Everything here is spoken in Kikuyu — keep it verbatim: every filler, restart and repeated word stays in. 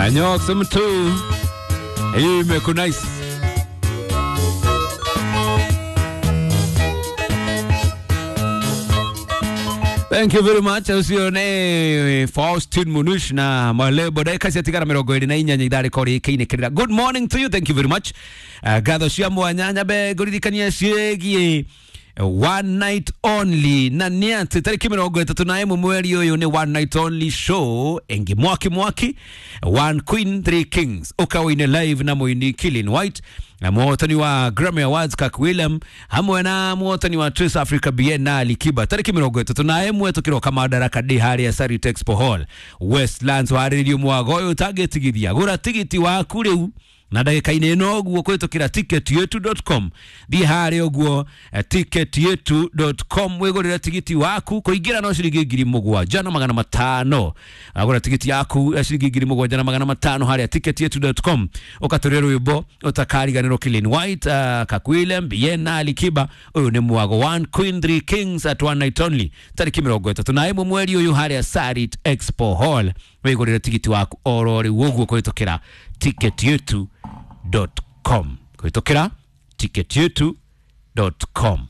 Anyok mtu imeku nice. Thank you very much. Ucio ne Faustin Munush na Malebo dakika ciatigara mirongo iri na inyanya ithaa rĩkorwo rĩkĩinĩkĩrĩra. Good morning to you. Thank you very much. Uh, ngatho cia mwanya nyambe ngũririkanie ciĩgiĩ one night only na nĩ atĩ tarĩki mĩrongo ĩtatũ na ĩmwe mweri ũyũ nĩ one night only show ĩngĩ mwaki mwaki one queen three kings ũkaũine live na mũini Killian White na mũhotani wa Grammy Awards Kirk William hamwe na mũhotani wa Trace Africa B N na Ali Kiba tarĩki mĩrongo ĩtatũ na ĩmwe tũkĩroka Madaraka Day harĩa Sarit Expo Hall Westlands. Warĩrĩrio mwago ũyũ ũtangĩtigithia, gũra tigiti waku rĩu na ndagĩka-inĩ ĩno ũguo kũhĩtũkĩra ticket yetu dot com. Thiĩ harĩa ũguo eh, ticket yetu dot com wĩgũrĩre tigiti waku. Kũingĩra no ciringi ngiri mũgwanja na magana matano. Agũra tigiti yaku ya ciringi ngiri mũgwanja na magana matano harĩa ticket yetu dot com, ũkatũrĩa rwĩmbo ũtakariganĩrwo, Killian White, uh, Kakwilem Bien na Ali Kiba. Ũyũ nĩ mwago one queen three kings at one night only tarĩki mĩrongo ĩtatũ na ĩmwe mweri ũyũ harĩa Sarit Expo Hall. Wĩgũrĩre tigiti waku oro rĩu ũguo kũhĩtũkĩra ticket yetu dot com, kũhĩtũkĩra ticket yetu dot com.